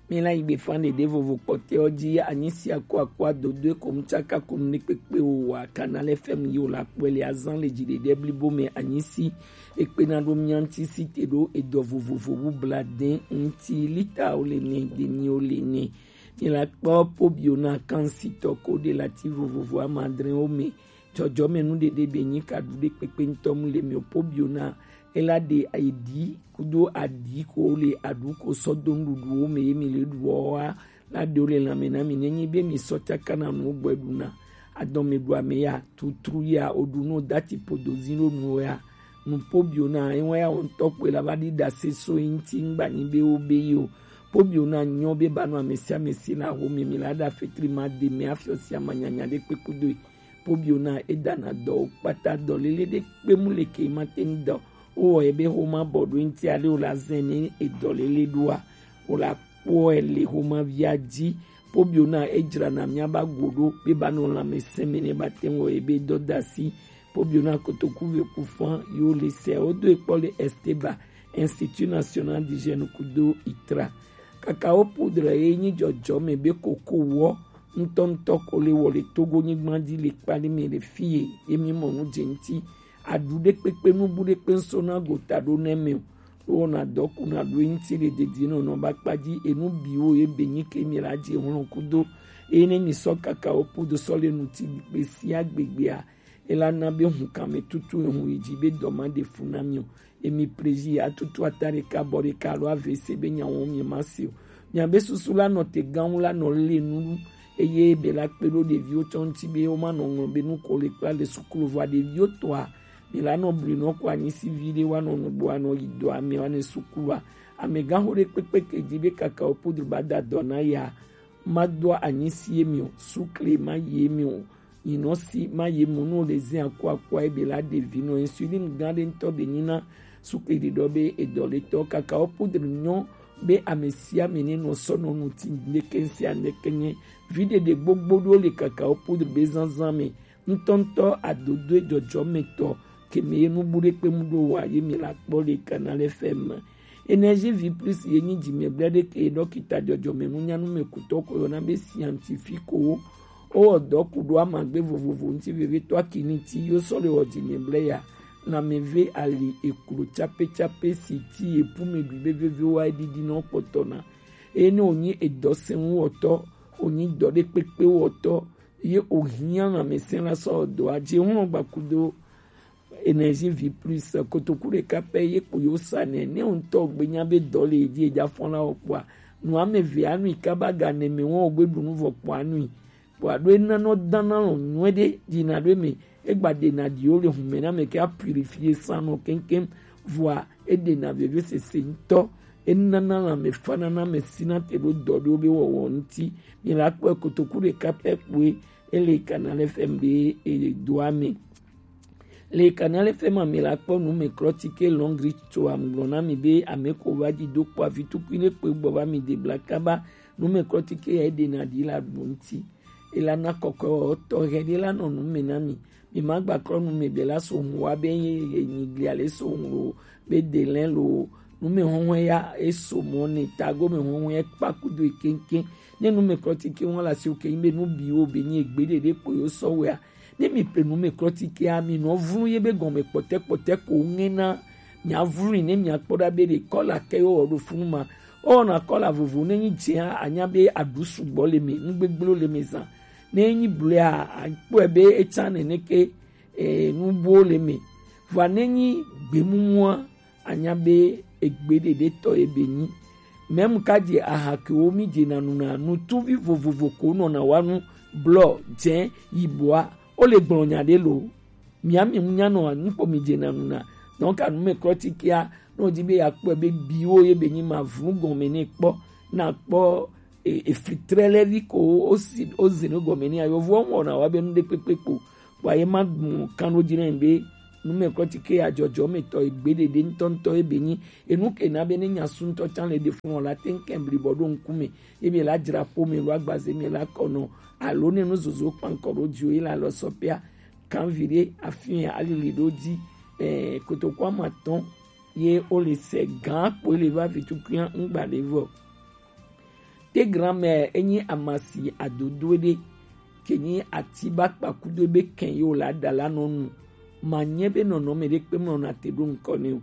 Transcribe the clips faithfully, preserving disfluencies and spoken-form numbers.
Mi la yi gbe fan ɖeɖe vovo kpɔtɛ ɔ ji, anyi si akɔ akɔ adodo e ko mu tsaka ko nu ne kpekpe o wa Canal F M yi o la kpɔe le azan le ji ɖeɖe blibo mɛ anyi si ekpe na ɖo mia ŋuti si te ɖo edɔ vovovo bu bla dɛn ŋuti lita o le nɛ demi o le nɛ. Mi la kpɔ pobio na kan si tɔ ko ɖe lati vovovo ama adre o mɛ. Jɔjɔmɛnu ɖeɖe be nyi ka ɖu ɖe kpekpe ŋutɔ mu le mi o pobio na ela ɖe ayi ɖi kudo aɖi ko le aɖu ko sɔ do nuɖuɖuwo mɛ ye mi le ɖuɔ wa la ɖewo le lanmɛ na mi nenyi be mi sɔ tsaka na nuwo gbɔ ɖu na adɔmɛ ɖu ame ya tutru ya o ɖu no dati podo zi ɖo nuwo ya. Nupo bio na ewa ya wo ŋutɔ kpɔe la va ɖi ɖase so yi ŋuti ŋgba nyi be wo be yi o. Po bio na nyɔ be ba nɔ ame sia ame si la ho mi mi la ɖa fetri ma de mɛ afiɔ sia ma nyanya ɖe kpekpe do yi. Pobio na edana dɔwo kpata dɔlele ɖe kpe mu le ke ma te ŋu dɔ. Wowɔ ebe xoma bɔ ɖo ŋuti ale wòle azɛn ne edɔlele ɖoa, wòle akpɔe le xomavia dzi. Pobio na edzrana miaba go ɖo be ba nɔ lãmesẽ me ne ba te ŋu wɔ ebe dɔdasi. Pobio na kotoku ve ku fã yo le sɛ wodo ekpɔ le Esteba, Institut National d'Hygiène kudo itra. Kakao poudre ye nyi jɔjɔme be koko wɔ ŋutɔŋutɔ ko le wɔ le Togo nyigba dzi le kpali me le fie ye mi mɔ nu dze ŋuti. Aɖu ɖe kpekpe nubu ɖe kpe ŋso na gota ɖo ne me o. Ɖo wɔna dɔ ku na ɖo ŋuti le dedie nɔ nɔ ba kpa dzi enu biwo ye be nyi ke mi la dzi hlɔn kudo. Eye ne mi sɔ kakao poudre sɔ le nuti gbe sia gbegbea, ela na be hun kame tutu ehun yi dzi be dɔ ma ɖe fu na mi o. Emi prezi atutu ata ɖeka bɔ ɖeka alo avese be nyawo mi ma se o. Miabe susu la nɔ te gaŋu la nɔ le nu eye be la kpe ɖo ɖeviwo tsɔ ŋuti be wo ma nɔ ŋlɔ be nu ko le kpla le sukulu vɔa ɖeviwo tɔa mi la nɔ bli nɔ ko anyi si vi ɖe wa nɔ nugbo anɔ yi dɔ ame wa ne sukulua. Amegãxo ɖe kpekpe ke dzi be kakao poudre ba da dɔ na ya ma do anyi si emi o, sukle ma yi emi o, nyinɔ si ma yi mu nu le zin akɔ akɔ ebe la ɖevi nɔ insulin gã ɖe ŋutɔ be nyina sukle ɖiɖɔ be edɔ le tɔ kakao poudre nyɔ be ame sia ame ne nɔ sɔ nɔ nu ti ndeke sia ndeke nye vi ɖeɖe gbogbo ɖo le kakao poudre be zanzan me ŋutɔŋutɔ adodoe jɔjɔmetɔ keme ye nubu ɖe kpe mu ɖo wa ye mi la kpɔ le Canal F M. Énergie vie plus ye nyi dzimɛgblẽ ɖe ke dɔkita jɔjɔme nunyanu me kutɔ ko yɔna be scientifique wo. Wowɔ dɔ ku ɖo amagbe vovovo ŋuti vevitɔ akini ti yo sɔ le wɔ dzimɛgblẽ ya. Lãmeve ali eklo tsape tsape si ti epu me ɖui be veve wa eɖiɖi nɔ kpɔtɔ na. Eye ne wònyi edɔ sɛnwu wɔtɔ, wònyi dɔ ɖe kpekpe wɔtɔ, ye wòhiã lãmesẽ la sɔ dɔa dzi ŋlɔ gbakudo Énergie vie plus kotoku ɖeka pɛ ye kpo yo sa nɛ ne ŋutɔ gbe nya be dɔ le dzi edza fɔn la wɔ kpɔa nu ame ve anui kaba ga ne me wɔn gbe ɖu nu vɔ kpɔ anui kpɔa ɖo ena nɔ dana lɔ nyuɛ ɖe dzi na ɖo me egba ɖe na ɖi wo le hume na me ke a purifier sang nɔ keŋkeŋ vɔa eɖe na vevesese ŋutɔ enana lãme fana na me sina te ɖo dɔ ɖewo be wɔwɔ ŋuti. Mi la kpɔe kotoku ɖeka pɛ kpoe ele Canal F M be edoa me. Le Canal F M me la kpɔ nu me klɔ tike lɔngri tso amgblɔ na mi be ame ko va dzi do kpɔ avi tukui ne kpe gbɔ va mi de bla kaba nu me klɔ tike ya eɖe na ɖi la ɖo ŋuti. Ela na kɔkɔ tɔ hɛ ɖe la nɔ nu me na mi. Mi ma gba klɔ nu me be la so ŋu wa be ye ye nyi glia le so ŋu lo be de lɛ lo nu me hɔhɔn ya eso mɔ ne tago me hɔhɔn ya kpa kudo keŋkeŋ. Ne nu me klɔ tike wɔn la si o ke be nu bi wo be nyi egbe ɖeɖe kpo yo sɔ wɛa. Ne mi ple nu me klɔ tike a mi nɔ vlu ye be gɔme kpɔtɛ kpɔtɛ ko ŋe na mia vlu ne mia kpɔ ɖa be ɖe kɔla ke yo wɔ ɖo funu ma. Ɔna kɔla vovo ne nyi dze a anya be aɖu sugbɔ le me nu gbegblẽwo le me zã. Ne nyi blea akpɔe be etsa nene ke e, nubuwo le me. Vɔa ne nyi gbemumua anya be egbe ɖeɖe tɔ ye be nyi. Mɛmu ka dze aha kewo mi dze na nu na nutuvi vovovo ko nɔ na wa nu blɔ dze yibɔa o le gblɔ nya ɖe lo. Mia mi mu nya nɔ nu kpo mi dze na nu na. Donc anu me klɔ tikea nɔ di be ya kpɔ be biwo ye be nyi ma vlu gɔme ne kpɔ na kpɔ e, efli trɛ lɛ vi ko o si o zi nu gɔme ni ayo vɔ wɔna wa be nu ɖe kpekpe kpo. Wa ye ma gbɔn kan ɖo dzi na be nu me klɔ ti ke ya jɔjɔ me tɔ egbe ɖeɖe ŋutɔ ŋutɔ ye be nyi enu ke na be ne nya su ŋutɔ tsan le ɖe fun wɔ la te ŋkɛ bli bɔ ɖo ŋku me ye be la dzra ƒo me lo agbaze me la kɔ nɔ alo ne nu zozo kpankɔ ɖo dzi o ye la lɔ sɔ pia kan vi ɖe afi alili ɖo dzi ɛ kotoku ama tɔn ye o le sɛ gan kpo le va vi tukuya ŋgba le vɔ. Tegrame enyi amasi adodo ɖe, ke nyi ati ba kpakudo be kɛn yo la da la nɔ nu. Ma nyɛ be nɔnɔme ɖe kpe mlɔ na te ɖo ŋkɔ ne o.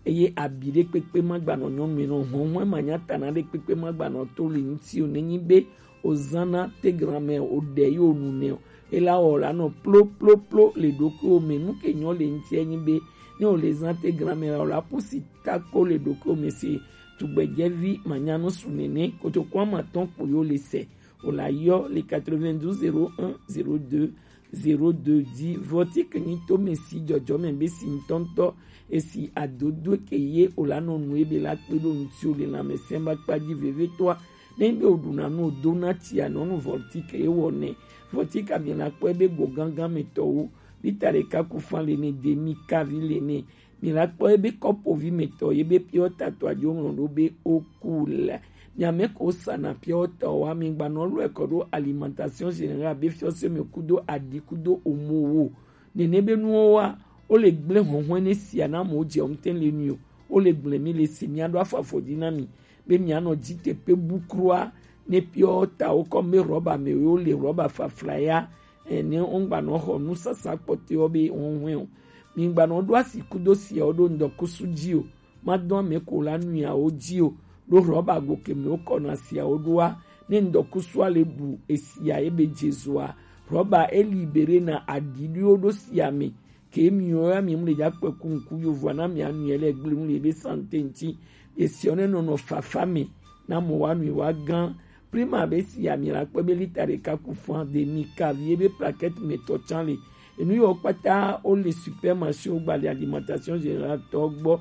Eye abi ɖe kpekpe ma gbanɔ nyɔnu nɔ hɔnhɔn ma nya tana ɖe kpekpe ma gbanɔ to li ŋuti o. Nenyi be o zana tegrame o ɖe yo nu ne o. Ela wɔ la nɔ plo plo plo le ɖokuiwo me. Nu ke nyɔ le ŋuti enyi be ne o le zan tegrame la o la pusi tako le ɖokuiwo me se. Tugbedzɛvi manyanu su nene kotoku ama tɔn kpo yo le se. O la yɔ le quatre-vingt-douze zéro un zéro deux zéro deux dzi. Vɔtike nyi to me si dzɔdzɔme be si ŋutɔŋutɔ esi adodo ke ye o la nɔ nu ebe la kpe ɖo ŋuti o le lãmesẽ ba kpa dzi vevitɔa. Ne be o ɖuna nu o dona tsia nɔnu vɔtike ye wɔ nɛ. Vɔtike mi la kpɔ ebe go gangan me tɔwo. Lita ɖeka ku fan le ne demi kavi le ne. Mi la kpɔ ebe kɔpovi me tɔ ye be piɔ tato adzo ŋlɔ ɖo be o ku la. Mi ame ko sana piɔ tɔ wa mi gba nɔ lɔ kɔ ɖo alimentation générale be fiɔ se me kudo adi kudo omo wo. Nene be nuwo wa o le gble hɔnhɔn ne sia na mo dze o ŋte le nu o. O le gble mi le si mi aɖo afɔ afɔ dzi na mi be mi anɔ dzi te pe bu krua ne piɔ ta wo kɔ me rɔba me wo le rɔba fafla ya. Ene ŋgba nɔ xɔ nusasa kpɔtɔewo be hɔnhɔn o. Mi ŋgba nɔ ɖo asi kudo siawo ɖo ŋdɔkusu dzi o. Ma dɔn ame ko la nuyawo dzi o. Ɖo rɔba go ke me wokɔ na siawo ɖoa. Ne ŋdɔkusua le ɖu esia ebe dzezoa. Rɔba eli bere na aɖiɖiwo ɖo sia me. Ke miwo ya mi mu le dza kpe ku ŋku yovoa na mi anu yɛ le gble nu le be sante ŋti. Esiɔ ne nɔnɔ fafa me. Na mo wa nu wa gan. Prima be si ami la kpɔ be lita ɖeka ku fan de mi kavi ebe plaquette me tɔ tsan le. Enu yɔ kpata o le supermarché o gba le alimentation générale tɔ gbɔ.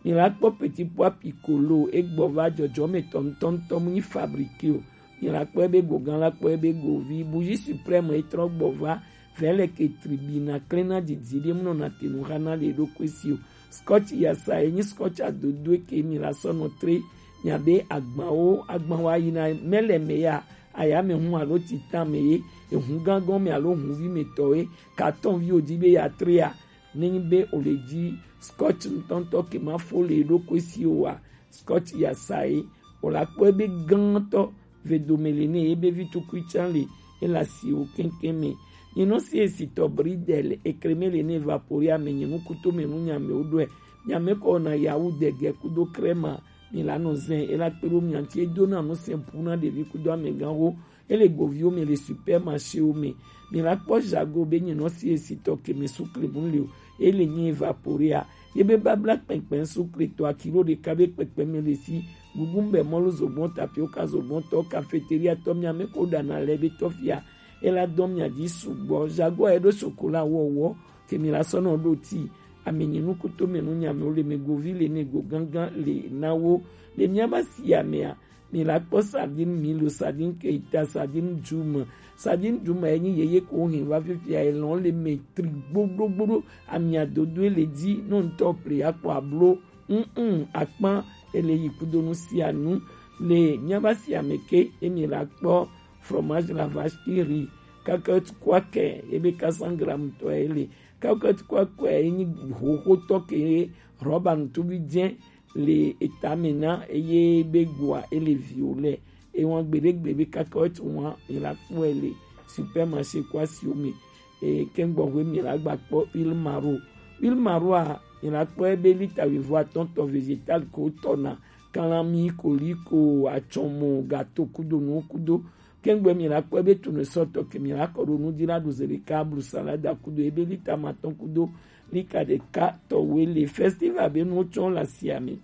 Mi la kpɔ petit pois piccolo egbɔ va dzɔdzɔ me tɔ ŋtɔ ŋtɔ mu nyi fabriqué o. Mi la kpɔ ebe go gan la kpɔ ebe go vi bougie suprême etrɔ gbɔ va vɛlɛ ke tribina klena didi ɖe mu nɔ na te nu xa na le ɖo kwe si o. Scotch yasa enyi scotch adodo ke mi la sɔ nɔ tre. Miabe agbawo agbawo ayina mele me ya ayame hu alo titan me ye ehu gangɔn me alo huvi me tɔ ye carton vi odi be ya trea. Nenyi be o le dzi scotch ŋutɔŋutɔ ke ma fo le ɖokui si o wa scotch ya sa ye o la kpɔ ebe gãtɔ ve dome le ne ebe vi tukui tsan le ela si o keŋkeŋ me. Nyinɔ si esi tɔ bridel ekreme le ne evaporia me nyi nukuto me nu nyame o ɖɔe nyame kɔ na yawu dege kudo krema. Mi la nɔ zɛn ela kpe ɖo mia ŋuti edo na nu sɛn pu na ɖevi kudo amegãwo. Ele goviwo me le supermarchéwo me. Mi la kpɔ jago be nyinɔ si esi tɔ ke me sukle mu le o. Ele nyi evaporea. Ye be babla kpɛnkpɛn sukle tɔ akilo ɖeka be kpɛkpɛ me le si. Gugu be mɔlu zogbɔn tapioka zogbɔn tɔ cafeteria tɔ mia me ko ɖana le be tɔfia. Ela dɔn mia dzi sugbɔ. Jago eɖo chocolat wɔwɔ. Ke mi la sɔ nɔ ɖo ti. Ame nyi nukuto me nu nyame o le me govi le ne go gangan le na wo. Le mia ba si amea. Mi la kpɔ sardine milo, sardine keita, sardine djuma. Sardine djuma enyi yeye ko hin va fifia elɔn le me tri gbogbogbo. Amia dodo le dzi no ŋutɔ ple akpɔ ablo. Mm akpan ele yi kudo nu sia nu. Le mia ba si ame ke emi la kpɔ fromage la vache qui rit. Kakɛt kwakɛ ebe ka san gram tɔ ele. Kakɛt kwakɛ enyi hoho tɔ ke rɔba ŋutubi dze le etame na eye be goa ele viwo le ewan gbeɖegbe be kaka wotu wan mi la kpɔe le supermarché ko asiwo me. Eye kɛngbɔhwe mi la gba kpɔ huile maro. Huile maro a mi la kpɔe be lita wuivo atɔ̃ tɔ végétal ko tɔna kalami koliko atsɔmɔ gato kudo nuwo kudo. Kɛngbɛ mi la kpɔe be tournesol tɔ ke mi la kɔ ɖo nu dzi la ɖu ze ɖeka blu salada kudo ebe lita matɔ̃ kudo lika ɖeka tɔwoe le. Festival be nuwo tsɔ le asia me.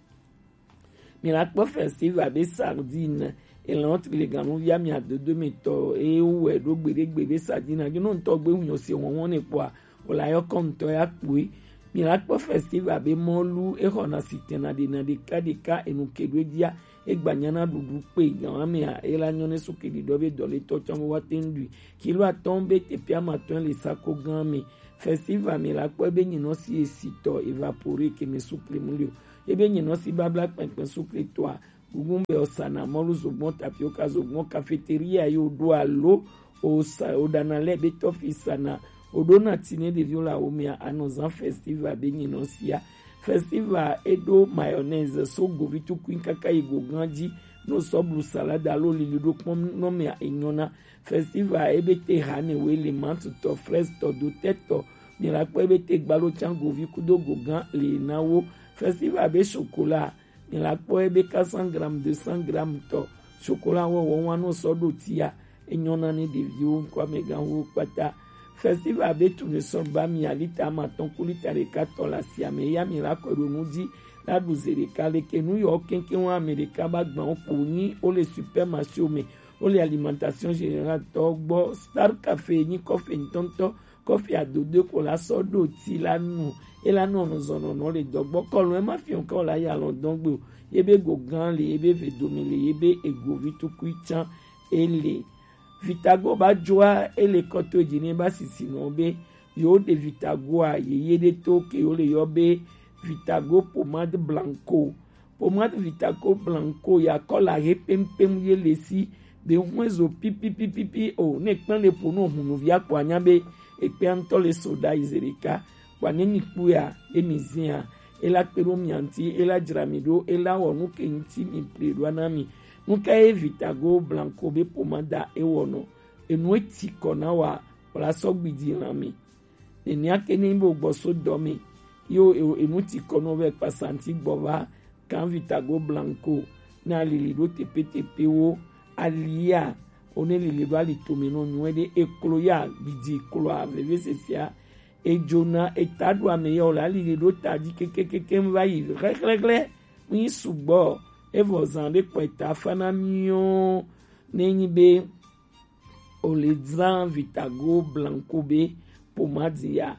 Mi la kpɔ festival be sardine elɔn tri le ganuvia mi adodo me tɔ eye wowɔe ɖo gbeɖegbe be sardine agi nɔ ŋutɔ gbe hunyɔ se wɔwɔ ne kpɔa wòle ayɔkɔ ŋutɔ ya kpoe. Mi la kpɔ festival be mɔlu exɔna sitɛna ɖena ɖeka ɖeka enu ke ɖo edzia egbanya na ɖuɖu kpe gan amea ela nyɔ ne suke ɖiɖɔ be dɔletɔ tsɔ be woate ŋu ɖui. Kilo atɔ̃ be teƒe amatɔ̃ le sako gã me. Festival mi la kpɔ be nyinɔ si esi tɔ evapore ke me sukle mu le o. Ebe nyinɔ si babla kpɛnkpɛn sukle tɔa gugun be osana mɔlu zogbɔn tapioka zogbɔn cafeteria yo ɖo alo osa oɖana lɛ be tɔfi sana oɖona ti ne ɖeviwo le awo mea anɔ zan festival be nyinɔ sia. Festival eɖo mayonnaise so govi tukui kaka yi go gan dzi no sɔ blu salade alo lili ɖo kpɔn nɔ mɛ enyɔna. Festival ebe te hane we le mantutɔ, fraise tɔ, dotɛ tɔ, mi la kpɔ ebe te gbalo can govi kudo gogan le na wo. Festival be chocolat, mi la kpɔ ebe quatre cents grammes, deux cents grammes tɔ chocolat wɔwɔ wa no sɔ ɖo tia. Enyɔna ne ɖeviwo ŋkɔ amɛganwo kpata. Festival be tournesol ba mi alita amatɔn ku lita ɖeka tɔ la sia mɛ ya mi la kɔe ɖo nu ji la ɖu ze ɖeka leke nu yɔ kɛnkɛn wa amɛ ɖeka ba gban wo kpo nyi wo le supermarché wo mɛ, wo le alimentation générale tɔ gbɔ. Star Café nyi kɔfe ŋtɔŋtɔ, kɔfe adodo ko la sɔ ɖo ti la nu. E la nɔ nuzɔnɔnɔ le dɔgbɔ kɔlɔn e ma fiɔ kɔ la ya lɔn dɔn gbe o. Ye be go gan le, ye be ve domi le, ye be egovi tukui can e le. Vitago ba joa e le kɔto e ji ne ba sisi nɔ be yo de Vitago a ye ye de to ke yo le yɔ be Vitago pommade blanco. Pommade Vitago blanco ya kɔla he pempem ye le si be hwe zo pipipipipi o ne kpɛn le po no hunu via kpɔ anya be ekpɛ ŋtɔ le soda izereka kpɔ ne mi kpu ya ye mi zia e la kpe ɖo mia ŋti e la jra mi ɖo e la wɔ nu ke ŋti mi ple ɖo na mi. Nu ka ye Vitago blanco be pommade e wɔ nɔ? Enu e ti kɔ na wa wala sɔ gbidi lan mi. Nenia ke ne bo gbɔ so dɔ mi yo e- enu ti kɔ no ve kpa santi gbɔ va kan Vitago blanco na lili ɖo tepetepe wo alia o ne lili ɖo ali tome nɔ nyuɛ ɖe eklo ya gbidi klo a veve sesia ejona eta ɖo ame ya o la lili ɖo ta ji kekekeke va yi hlɛhlɛhlɛ mi sugbɔ evɔ zan ɖe kpɔ eta fa na mi o ne nyi be o le dzra Vitago blanco be pommade ya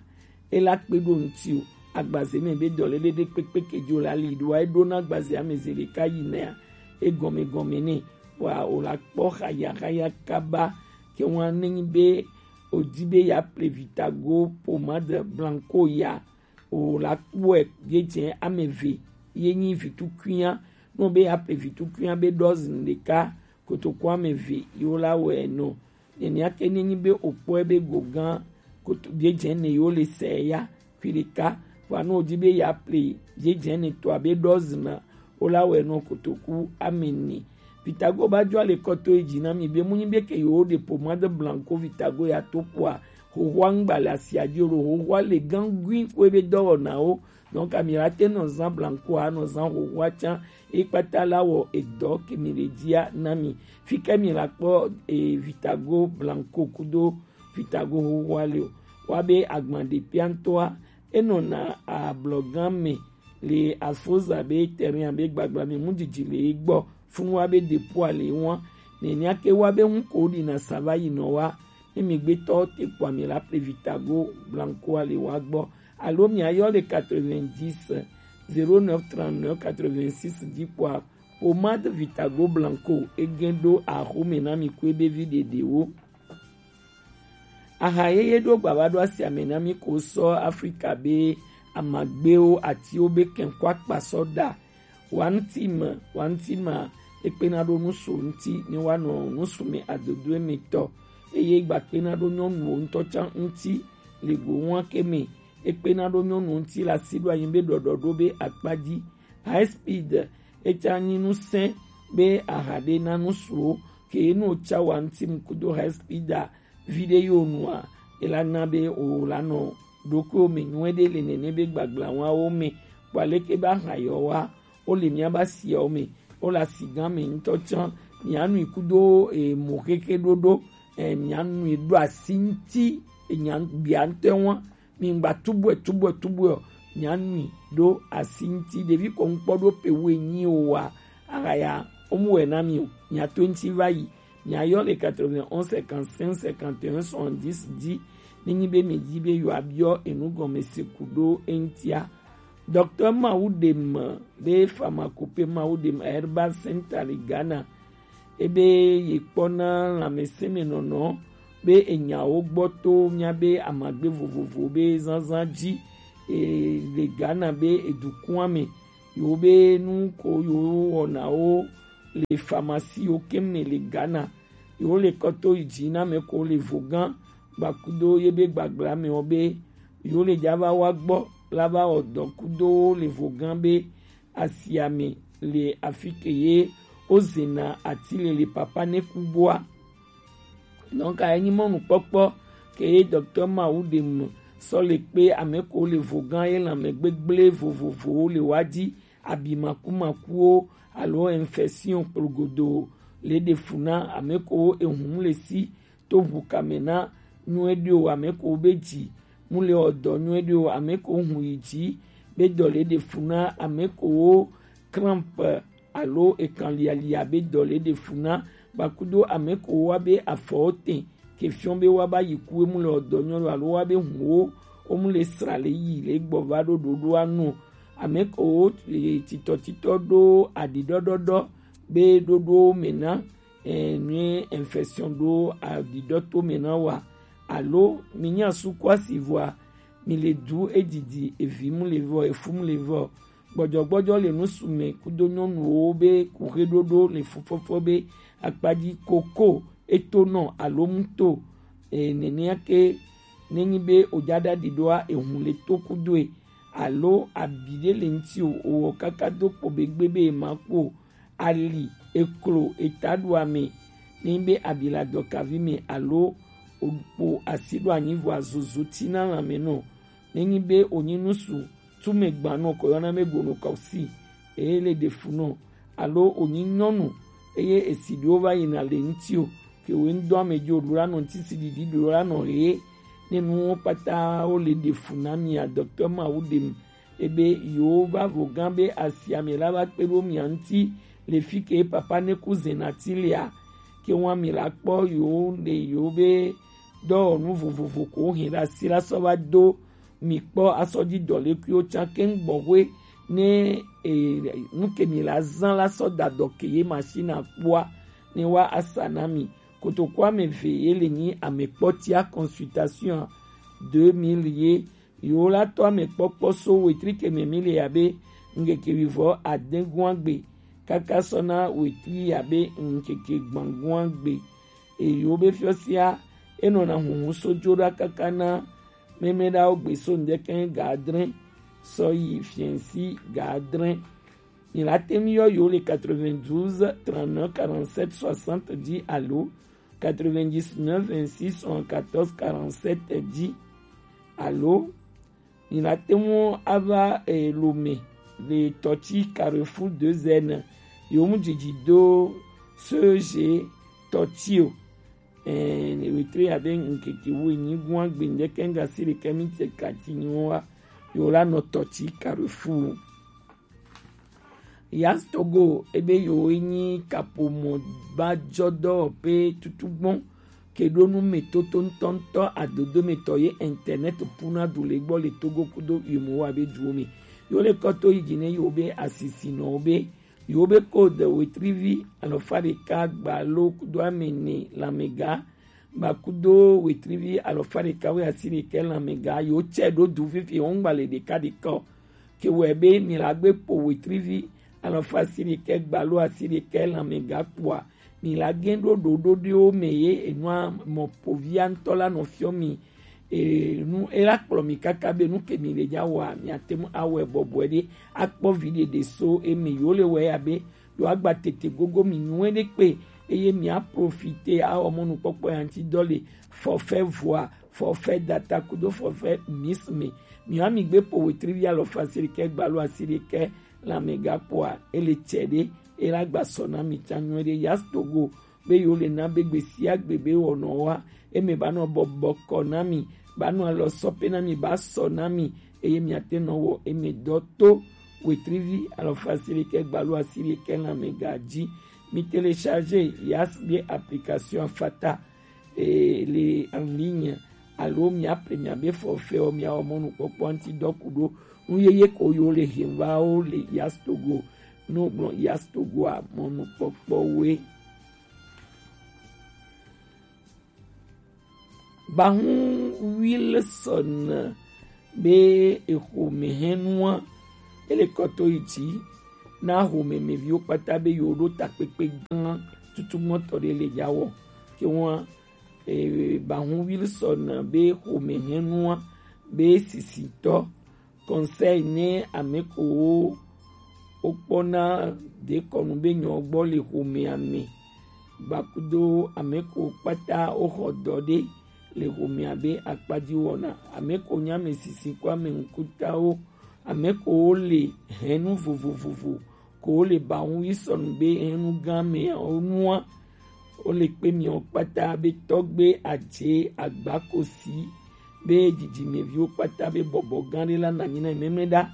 e la kpe ɖo ŋti o. Agbaze mɛ be dɔlele ɖe kpekpe ke jo la li ɖo e ɖo na agbaze ame ze ɖeka yi nɛa egɔme gɔme nɛ wa o la kpɔ haya haya kaba ke wa ne nyi be o di be ya ple Vitago pommade blanco ya o la kpɔe ye dze ame eve ye nyi vitukuia. No be ya ple vitukuia be dɔzin ɖeka kotoku ame eve yo la wɛ nɔ. Nenia ke ne nyi be o kpɔe be gogan koto ye dze ne yo le sɛ ya kui ɖeka. Vɔa no o di be ya ple ye dze ne tɔ abe dɔzin na o la wɛ nɔ kotoku ame ene. Vitago ba jo ale kɔto yi dzi na mi be mu nyi be ke yo de pommade blanco Vitago ya to kpɔa hohoa ŋgba le asia dzi o ɖo hohoa le gangui ko ebe dɔwɔnawo. Donc ami la te nɔ zan blanco a nɔ zan hohoa can e kpata la wɔ edɔ ke mi le dzia na mi. Fi ke mi la kpɔ e Vitago blanco kudo Vitago hohoa le o wa be agban de piantɔa enɔna ablɔgan me le afoza be terrain be gbagbla me mu didi le egbɔ funu wa be depoa le wan nenia ke wa be ŋu ko ɖi na sava yi nɔ wa ne mi gbetɔ te kpɔ ami la ple Vitago blanco a le wa gbɔ alo mi ayɔ le quatre-vingt-dix zéro neuf trente-neuf quatre-vingt-six dzi kpɔa pommade Vitago blanco egen ɖo axome na mi ko ebe vi ɖeɖewo. Aha yeye ɖo gbava ɖo asia me na mi ko sɔ Afrika be amagbewo atiwo be kɛnkɔ akpa sɔ ɖa. Wantima, wantima ekpena ɖo nusu ŋti ne wanɔ nusu me adodo emetɔ eye gbakpena ɖo nyɔnuwo ŋutɔ can ŋti le go wan ke me. Ekpena ɖo nyɔnu ŋti le asi ɖo anyi be ɖɔɖɔ ɖo be akpa dzi. High speed etsa nyi nusẽ be aha ɖe na nusuwo ke nu tsa wantim kudo high speed a vi ɖe yo nua ela na be o la nɔ ɖokuiwo me nyuie ɖe le nene be gbagblã wawo me kpɔ aleke be aha yɔ wa wo le mía be asiawo me wo le asi gã me ŋutɔ tsã mía nui kudo e, mo keke ɖoɖo e, mía nui ɖo asi ŋti e, nya gbia ŋutɔ wa mi ŋgba tubɔe tubɔe tubɔe o mía nui ɖo asi ŋti ɖevi kɔ ŋkpɔ ɖo pe wo enyi o wa ahaya wo mu wɛ na mi o mía to ŋti va yi mía yɔ le quatre-vingt-onze cinquante-cinq cinquante et un soixante-dix dzi ne nyi be mi dzi be yewoa biɔ enu gɔme se ku ɖo eŋtia. Docteur Mawudem be pharmacopée Mawudem Herbal Center le Ghana ebe ye kpɔna lãmesẽmenɔnɔ be enyawo gbɔ to míabe amagbe vovovo be zazã dzi e, le Ghana be edukua me yewo be nu ko yewo wɔnawo le pharmacie yiwo keŋ me le Ghana yewo le kɔ to yi dzi na ame ko le vogã gbakudo ye be gbagblã me wo be yewo le dza va wa gbɔ la va wɔ dɔ kudo wo le vogã be asia me le afi ke ye wozena ati lele papa ne ku boa. Donc, enyi mɔnukpɔkpɔ ke ye docteur Mawu ɖe mu sɔ le kpe ame ko le vogan ye lanmɛ gbegble vovovowo le wa di, abi makumakuwo alo infection kplogodo le ɖe fu na ame ko ehun le si to ʋu kame na nyuie ɖe o, ame ko be dzi mu le ɔ dɔ nyuie ɖe o, ame ko hun yi dzi be dɔ le ɖe fu na ame ko crampe alo ekan lialia be dɔ le ɖe fu na, ba kudo ame ko wa be afɔwo tɛ ke fiɔ be wa ba yi ku emu le ɔ dɔ nyuie ɖe o alo wa be hun wo wo mu le sra le yi le gbɔ va ɖo ɖoɖo anu ame ko wo titɔtitɔ ɖo aɖiɖɔɖɔɖɔ be ɖoɖowo me na eh, nue infection ɖo aɖiɖɔ to me na wa alo mi nya suku asi vɔa mi le du edidi evi mu le vɔ efu mu le vɔ gbɔdzɔgbɔdzɔ le nusu me kudo nyɔnuwo be kuxe ɖoɖo le fufɔfɔ be akpadzi koko eto nɔ alo muto eh, nenea ke nenyi be ojaɖa ɖiɖoa ehun le to kudoe alo abi ɖe le ŋuti o owɔ kaka do kpo be gbe be ema ku o ali eklo etaɖoame nenyi be abi le adɔkavi me alo okpo asi ɖo anyi vɔa zozo tina lanme nɔ nenyi be onyi nusu tume gbanɔ ko yɔna be gonokɔsi eye le ɖe fu nɔ alo onyi nyɔnu eye esi ɖewo va yina le ŋuti o ke wo ŋdɔ ame dzi o ɖo la nɔ ŋuti si ɖiɖi ɖo la nɔ ɣe ne nuwo kpata wo le ɖe fu na mia docteur Mawu ɖe mu ebe yewo va vo gã be asia mi la va kpe ɖo mia ŋuti le fi ke papa ne ku zena ti lea ke wa mi la kpɔ yewo le yewo be dɔwɔnu vovovo ko hɛn ɖe asi la sɔ va do mi kpɔ asɔ dzi dɔlekuiwo tsã keŋ gbɔxwe ne e, nu ke mi la zã la sɔ da dɔ ke ye machine kpɔa ne wa asa na mi. Kotoku ame eve ye le nyi amekpɔtia consultation deux mille ye yewo la tɔ amekpɔkpɔ so wetri ke me mi le abe ŋkeke wivɔ ade gua gbe kaka sɔ na wetri abe ŋkeke gbãgua gbe. Eye yewo be fiɔsia enɔna huhu so dzo ɖa kaka na mɛmɛ ɖawo gbe so ŋdɛkɛ ga adre sɔ yi fiɛnsi ga adre. Mi la te ŋu yɔ yewo le quatre-vingt-douze trente-neuf quarante-sept soixante dzi alo quatre-vingt-dix-neuf vingt-six soixante-quatorze quarante-sept dzi alo mi la te ŋu ava eh, Lome le tɔti Carrefour deux N yewo mu dzidzi do C G tɔti o. Eh, wetri abe ŋkeke wu enyi gua gbe ŋdɛkɛ ŋga si ɖekɛ mi te kati nyi wa yewo la nɔ tɔti Carrefour. Yas Togo ebe yewo nyi kaƒomɔ ba dzɔ dɔwɔƒe tutugbɔn ke ɖo nu me toto ŋutɔŋutɔ adodo me tɔ ye internet puna du le gbɔ le Togo kudo yemowa be duwo me. Yewo le kɔ to yi dzi ne yewo be asisinɔwo be yewo be code wetrivi alɔfa ɖeka gbalo kudo ame ene lamɛga gba kudo wetrivi alɔfa ɖeka wu asi ɖekɛ lamɛga yewo tsɛ ɖo du fifi yewo ŋgba le ɖeka ɖeka o. Ke wɔe be mi la gbe kpo wetrivi alɔfa asi ɖekɛ gbalo asi ɖekɛ lamɛga kpoa mi la gɛ ɖo ɖoɖoɖiwo me ye enua mɔ povia ŋutɔ la nɔ fiɔ mi enu ela kplɔ mi kaka be nu ke mi le dza wɔa miate ŋu awɔe bɔbɔe ɖe akpɔ vi ɖeɖe so eme yewo le wɔe abe yewo agba tete gogo mi nyuie ɖe kpe eye mi aprofite awɔ mɔnukpɔkpɔ ya ŋuti dɔ le forfait voix forfait data kudo forfait mix me mi wa mi gbe po wetrivi alɔfa asi ɖekɛ gbalo asi ɖekɛ lamɛga kpoa ele tsɛ ɖe ela gba sɔ na mi tsa nyuie ɖe Yas Togo be yewo le na be gbe sia gbe be wɔnɔ wa eme ba nɔ bɔbɔ kɔ na mi ba nɔ alɔ sɔ pe na mi ba sɔ na mi eye miate nɔ wɔ eme dɔ to wetrivi alɔfa asi ɖekɛ gbalo asi ɖekɛ lamɛga dzi mi télécharger Yas be application afata eh, le en ligne alo miaƒle miabe forfait wo miawɔ mɔnukpɔkpɔ ŋuti dɔ ku ɖo nu yeye ko yewo le hɛn va wo le Yas Togo ne wogblɔ Yas Togoa mɔnukpɔkpɔwoe. Bahun Wilson be exomehɛnua ele kɔ to yi dzi na xomɛmɛviwo kpata be yewo ɖo takpekpe gã tutugbɔtɔ ɖe le dza wɔ ke ŋua eh, Bahun Wilson be xomehɛnua be sisitɔ conseil ne ame kowo wokpɔna dekɔnu be nyɔ gbɔ le xomea me. Gbakudo ameko kpata woxɔ dɔ ɖe le xomea be akpa dzi wɔna. Ameko nye ame sisi kple ame ŋkutawo. Ameko wole hɛnu vovovovo ko wole ba ŋu yi sɔnu be hɛnu gã meawo nua. Wole kpe miawo kpata be tɔgbe adze agbakosi be dzidzimeviwo kpata be bɔbɔ gã ɖe la nanyi na mɛmɛ ɖa.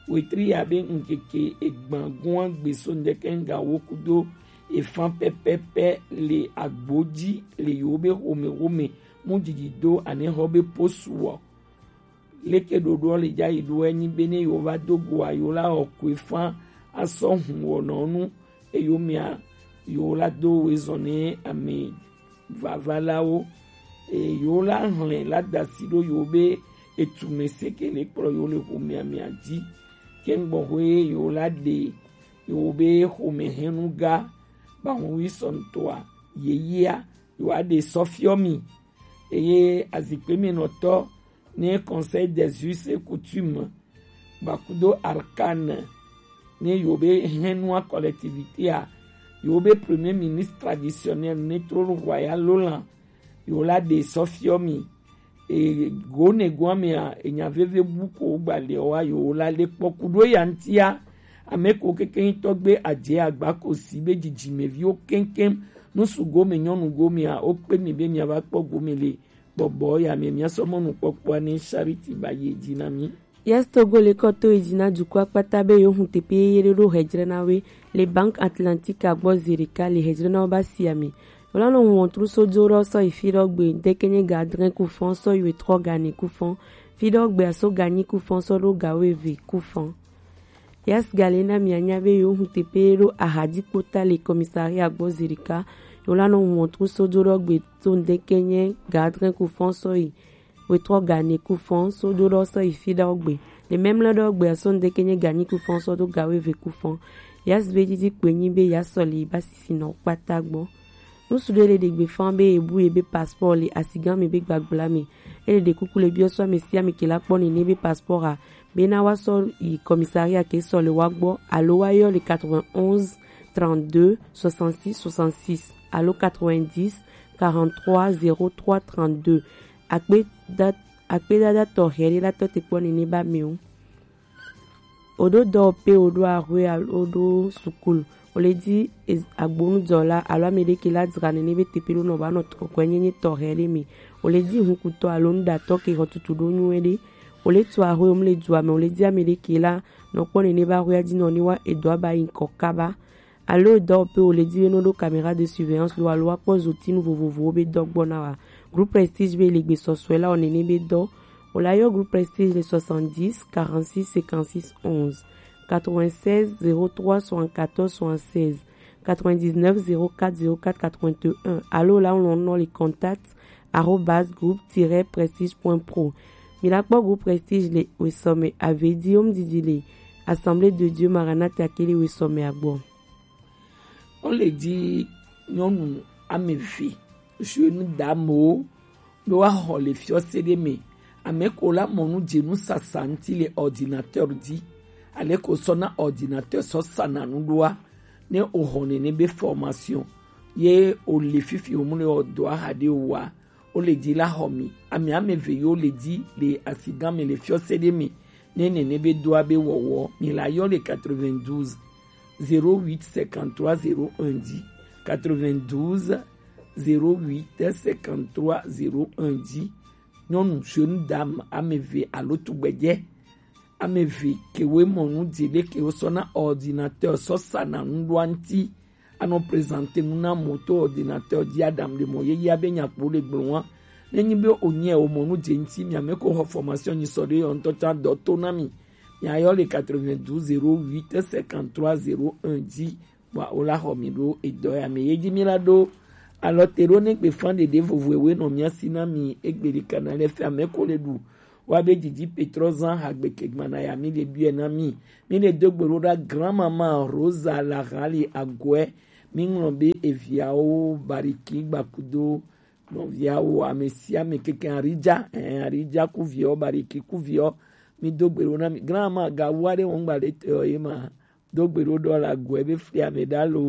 Wetri ya be ŋkeke egban gua gbe so ŋdeke ŋga wo kudo efan pɛpɛpɛ le agbo dzi le yewo be xomexome mu dzidzi do anexɔ be posuɔ. Leke ɖoɖoɔ le dza yi ɖo enyi be ne yewo va do goa yewo la xɔ koe fã asɔ hun wɔnɔ nu eye womia yewo la do woezɔ ne ame vavalawo eye yewo la hlẽ la da asi ɖo yewo be etume seke le kplɔ yewo le xomea mea dzi. Kɛŋgbɔxoe yewo la ɖe yewo be xomehɛnu ga bahuwi sɔntɔa yeyea yewoa ɖe sɔfiɔ mi. Eye azikpe me nɔtɔ ne Conseil des us et coutumes gbakudo Arcane ne yewo be hɛnua collectivité a yewo be premier ministre traditionnel ne trône royal lolan yewo la ɖe sɔfiɔ mi. E, go ne goa mea enya veve bu ko gba le wa yewo la le kpɔ kudo ya ŋtia. Ame ko keke ŋutɔ gbe adze agba ko si be dzidzimeviwo keŋkeŋ nusu gome nyɔnu gomea wokpe mi be miava kpɔ gome le bɔbɔ ya me míasɔ mɔnukpɔkpɔa ne Charity ba yi edzi na mí. Yes, Togo le kɔto edzi na dukɔ akpata be yewo hun teƒe yeye ɖe ɖo hedzre na woe le Banque Atlantique agbɔ zi ɖeka le hedzre na wo ba sia me. Wole nɔ wɔntru so do ɖɔ sɔ yi fi ɖɔ gbe deke nye ga adre kufɔn sɔ yi wetrɔ ga ne kufɔn fi ɖɔ gbe aso ga nyi kufɔn sɔ ɖo ga weve kufɔn. Yes, gale na mianya be yewo hun teƒe ɖo ahadzi kpota le commissariat gbɔ zi ɖeka. Yewo la nɔ wɔntru so do ɖɔ gbe to ŋdeke nye ga adre kufɔn sɔ yi wetrɔ ga ne kufɔn so do ɖɔ sɔ yi fi ɖɔ gbe. Le mɛmlɛ ɖɔ gbe aso ŋdeke nye ga nyi kufɔn sɔ do ga weve kufɔn. Yes, be didi kpe nyi be ya sɔ li ba sisi nɔ kpata gbɔ. Nusu ɖe le ɖe gbe fan be ebu ebe passeport le asigan me be gbagbla me. Ele ɖe kuku le biɔ sɔ ame sia ame ke la kpɔ nene be passeport a be na wa sɔ yi commissariat ke sɔ le wa gbɔ alo wa yɔ le quatre-vingt-onze trente-deux soixante-six soixante-six alo quatre-vingt-dix quarante-trois zéro trois trente-deux. Akpe da akpe dada tɔxɛ ɖe la tɔ te kpɔ nene ba me o. Oɖo dɔwɔƒe, oɖo axwe alo oɖo sukulu, wole di agbonudɔla alo ame ɖe ke la dzra nene be teƒe ɖo nɔ va nɔ kɔkɔe nyenye tɔxɛ ɖe me. Wole di hukutɔ alo nuɖatɔ ke xɔtutu ɖo nyuie ɖe. Wole tu axwe womle dua me, wole di ame ɖe ke la nɔ kpɔ nene be axwea dzi nɔ ne wa edɔa ba yi ŋkɔ kaba. Alo dɔwɔƒe wole di be no ɖo caméra de surveillance lo alo wa kpɔ zotinu vovovowo be dɔ gbɔ na wa. Groupe Prestige be le gbesɔsɔe la wɔ nene be dɔ. Wole ayɔ Groupe Prestige le soixante-dix quarante-six cinquante-six onze, quatre-vingt-seize zéro trois soixante-quatorze soixante-seize, quatre-vingt-dix-neuf zéro quatre zéro quatre quatre-vingt-un alo la wɔ nɔ le contact arobase groupe tiret prestige point pro. Mi la kpɔ Groupe Prestige le wesɔme avedi wom didi le Assemblée de Dieu Maranatha ke le wesɔme agbɔ. Wole di nyɔnu ame eve, jeune damewo, be woaxɔ le fiɔse ɖe me. Ame ko la mɔ nu dze nu sasa ŋuti le ordinateur dzi. Ale ko sɔ na ordinateur sɔ sana nu ɖoa, ne o xɔ nene be formation, ye o le fifi o mu le o dɔa xa ɖe o wa, o le di la xɔ mi. Ame ame eve yo le di le asigan me le fiɔse ɖe me. Ne nene be doa be wɔwɔ, mi la yɔ le quatre-vingt-douze zéro huit cinquante-trois zéro un dix, quatre-vingt-douze zéro huit cinquante-trois zéro un dix. Nyɔnu jeune dame ame eve alo tugbedze ame eve kewoe mɔ nu dzi ɖe kewo sɔ na ordinateur sɔ sana nu ɖoa ŋuti. Anɔ présenter nu na mɔ to ordinateur dzi aɖaŋu ɖe mɔ yeyea be nyakpo le gblɔ wa. Ne nyi be wònye wòmɔ nu dze ŋuti mia me ko xɔ formation nyi sɔ ɖe yɔ ŋutɔ tsã dɔ to na mi. Miayɔ le quatre-vingt-douze zéro huit cinquante-trois zéro un dzi. Bua wo la xɔ mi ɖo edɔ ya me. Ye dzi mi la ɖo alɔ te ɖo ne gbe fan ɖeɖe vovo ewe nɔ mia si na mi egbe ɖe kana le fia me ko le ɖu. Wa be didi Petrɔ zan hagbe ke gbana ya mi le biɛ na mi. Mi le do gbe ɖo ɖa grand maman Rosa la hali agɔɛ. Mi ŋlɔ be eviawo Bariki gbakudo nɔviawo ame sia ame keke Aridza, eh, Aridza kuviɔ, Bariki kuviɔ. Mi do gbe ɖo na mi. Grand maman gawu aɖe wɔn gba ɖe te ye ma. Do gbe ɖo ɖɔ la gɔe be fli ame ɖa lo.